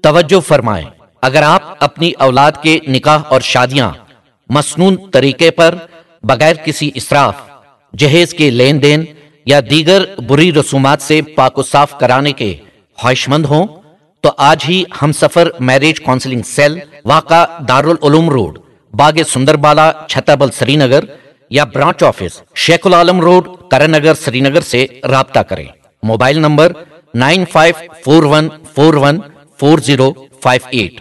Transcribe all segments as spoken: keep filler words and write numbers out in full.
توجہ فرمائیں، اگر آپ اپنی اولاد کے نکاح اور شادیاں مسنون طریقے پر، بغیر کسی اسراف، جہیز کے لین دین یا دیگر بری رسومات سے پاک و صاف کرانے کے خواہشمند ہوں تو آج ہی ہم سفر میرج کاؤنسلنگ سیل، واقع دارالعلوم روڈ، باغ سندر بالا، چھتابل، سری نگر، یا branch office, Sheikh ul Alam road, Karan Nagar, Srinagar سے رابطہ کریں۔ Mobile number nine five four one four one four zero five eight.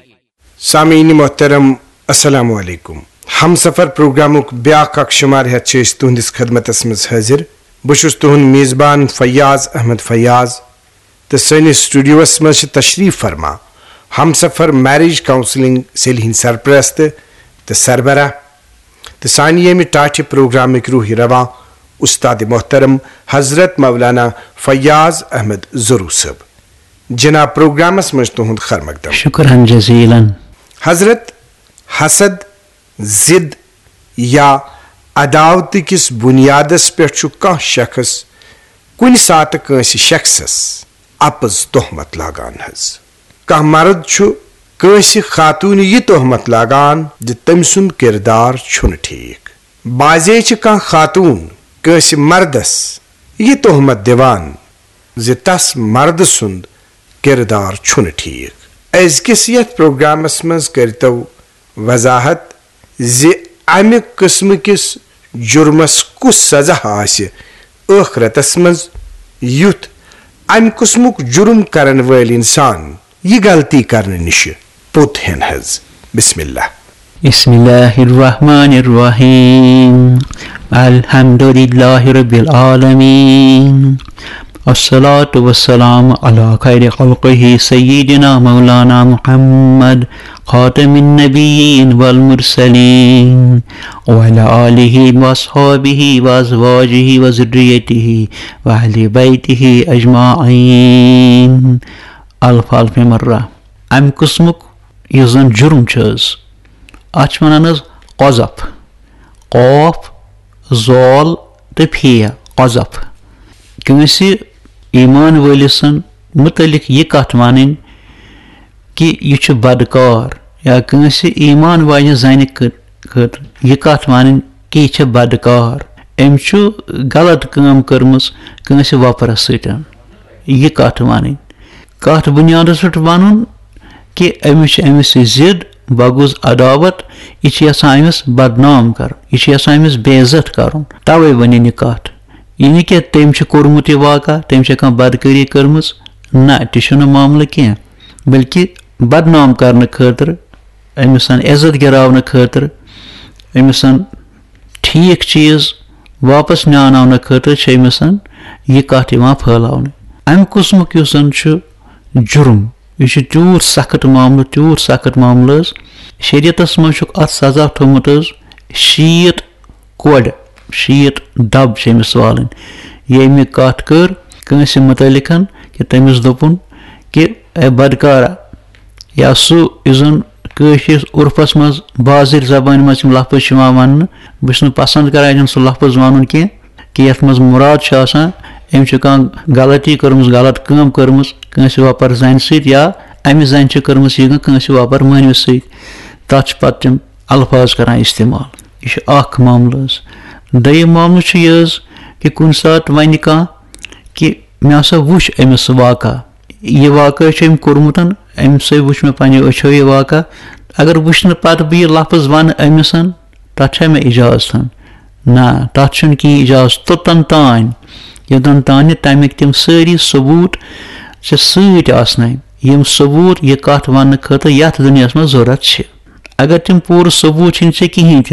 سامعین محترم، السلام علیکم۔ ہم سفر پروگرامک بیاکھ اکھ شمار ہیتھ چھِ أسۍ تُہنٛدِس خدمتس منٛز حٲضِر۔ بہٕ چھُس تُہنٛد میزبان فیاض احمد فیاض، تہٕ سٲنِس سٹوڈیوس منٛز چھِ تشریف فرما ہم سفر میرج کاؤنسلنگ سیل ہٕنٛدۍ سرپرست تہٕ سربراہ تہٕ سانہِ ییٚمہِ ٹاٹھہِ پروگرامٕکۍ روحی رواں استاد محترم حضرت مولانا فیاض احمد زرو صٲب۔ جناب، پروگرامس منٛز تُہنٛد خیر مقدم۔ شکرا جزیلا۔ حضرت، حسد، ضد یا عداوتہٕ کِس بنیادس پٮ۪ٹھ چھُ کانٛہہ شخص کُنہِ ساتہٕ کٲنٛسہِ شخصس اپٕز تہمت لاگان حظ۔ کانٛہہ مرد چھُ کٲنٛسہِ خاتوٗنہِ یہِ تہمت لاگان زِ تٔمۍ سُنٛد کردار چھُنہٕ ٹھیٖک۔ بعضے چھِ کانٛہہ خاتوٗن کٲنٛسہِ مردس یہِ تہمت دِوان زِ تس مردٕ سُنٛد کردار چھُنہٕ ٹھیٖک۔ أزکِس یتھ پروگرامس منٛز کٔرۍتو وضاحت زِ امہِ قٕسمہٕ کِس جُرمس کُس سزا آسہِ ٲخرتس منٛز، یُتھ امہِ قٕسمُک جُرم کرن وٲلۍ انسان یہِ غلطی کرنہٕ نِشہِ پوٚت ہٮ۪ن حظ۔ بسم اللہ۔ بسم الله الرحمن الرحيم. الحمد لله رب العالمين. الصلاة والسلام على خير خلقه سيدنا مولانا محمد خاتم النبيين والمرسلين وعلى آله وأصحابه وأزواجه وذريته وأهل بيته أجمعين. الف الف مرة. امہِ قٕسمُک یُس زن جُرم چھُ حظ، اتھ چھِ ونان حظ قذف۔ قاف، زال تہٕ فے، قذف۔ کٲنٛسہِ ایمان وٲلِس سٕنٛد مُتعلق یہِ کتھ ونٕنۍ کہِ یہِ چھُ بدکار، یا کٲنٛسہِ ایمان واجنہِ زنہِ خٲ-، خٲطرٕ یہِ کتھ ونٕنۍ کہِ یہِ چھِ بدکار، أمۍ چھُ غلط کٲم کٔرمٕژ کٲنٛسہِ وۄپرس سۭتۍ، یہِ کتھ ونٕنۍ۔ کتھ بنیادس پٮ۪ٹھ ونُن کہِ أمِس چھِ أمِس سۭتۍ ضد، بغض، عداوت، یہِ چھِ یژھان أمِس بدنام کرُن، یہِ چھِ یژھان أمِس بے عزت کرُن، توے ونِن یہِ کتھ۔ یہِ نہٕ کہِ تٔمۍ چھُ کوٚرمُت یہِ واقعہ، تٔمۍ چھےٚ کانٛہہ بدکٲری کٔرمٕژ، نہ، تہِ چھُنہٕ معاملہٕ کینٛہہ، بلکہِ بدنام کرنہٕ خٲطرٕ، أمِس عزت گراونہٕ خٲطرٕ، أمِس ٹھیٖک چیٖز واپس نیاناونہٕ خٲطرٕ چھِ أمِس یہِ کتھ یِوان پھٲلاونہٕ۔ امہِ قٕسمُک یُس زن چھُ جُرم، یہِ چھُ تیوٗت سخت معاملہٕ، تیوٗت سخت معاملہٕ حظ۔ شریعتس منٛز چھُکھ اتھ سزا تھوٚومُت حظ شیٖتھ کۄڑِ، شیٖتھ دب چھِ أمِس والٕنۍ۔ ییٚمہِ کتھ کٔر کٲنٛسہِ مُتعلقن کہِ تٔمِس دوٚپُن کہِ اے بدکارا، یا سُہ یُس زن کٲشرِس عرفس منٛز بازٕرۍ زبٲنۍ منٛز یِم لفظ چھِ یِوان وننہٕ، بہٕ چھُس نہٕ پسند کران یِم سُہ لفظ ونُن کینٛہہ، کہِ یتھ منٛز مُراد چھُ آسان أمۍ چھِ کانٛہہ غلطی کٔرمٕژ، غلط کٲم کٔرمٕژ کٲنٛسہِ وۄپر زنہِ سۭتۍ، یا امہِ زنہِ چھِ کٔرمٕژ یہِ کٲم کٲنٛسہِ وۄپر مٲنوِس سۭتۍ، تتھ چھِ پتہٕ تِم الفاظ کران استعمال۔ یہِ چھُ اکھ معاملہٕ حظ۔ دوٚیِم معاملہٕ چھُ یہِ حظ کہِ کُنہِ ساتہٕ ونہِ کانٛہہ کہِ مےٚ ہسا وُچھ أمِس سُہ واقعہ، یہِ واقعہ چھُ أمۍ کوٚرمُت، أمۍ سۭتۍ وُچھ مےٚ پننیو أچھو یہِ واقعہ۔ اگر وٕچھنہٕ پتہٕ بہٕ یہِ لفظ ونہٕ أمِس، تتھ چھا مےٚ اجازت؟ نہ، تتھ چھُنہٕ کینٛہہ اجازت۔ توٚتن تام، یوٚتن تام نہٕ تمِکۍ تِم سٲری ثبوت ژےٚ سۭتۍ آسنَے، یِم ثبوت یہِ کتھ وننہٕ خٲطرٕ یتھ دُنیاہس منٛز ضروٗرت چھِ۔ اگر تِم پوٗرٕ ثبوت چھِنہٕ ژےٚ کِہینۍ تہِ،